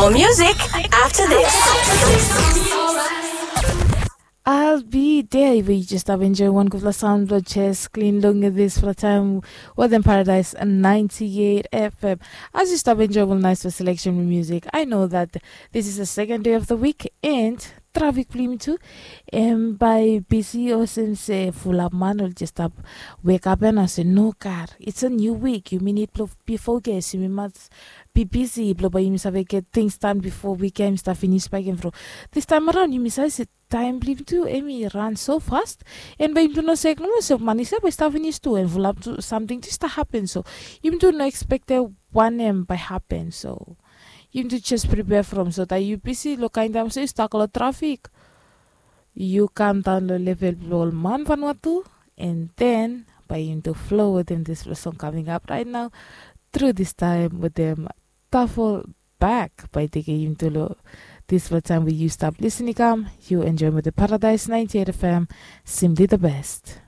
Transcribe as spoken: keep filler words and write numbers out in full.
More music after this. I'll be there. We just have enjoy one gufula sound blog, just clean long this for time. Well, then Paradise ninety-eight F M. As you stop enjoy one nice selection of music, I know that this is the second day of the week and traffic blame too. And by busy or since uh, full up man will just stop wake up and I say no car. It's a new week. You mean it before guys. You must be busy. Blo by you must have get things done before weekend start finish by game. This time around, you must have said time blame too. Emi ran so fast. And by you do not say no so money so by start finish too and full up to something just start happen. So you do not expect a one M by happen. So you do just prepare from so that you busy lo kind time so you stuck lo traffic. You come down lo level blo ol man Vanuatu and then by you do flow with them this song coming up right now. Through this time with them Tafel back by taking you to lo this time we you stop listening come you enjoy with the Paradise ninety-eight F M. Simply the best.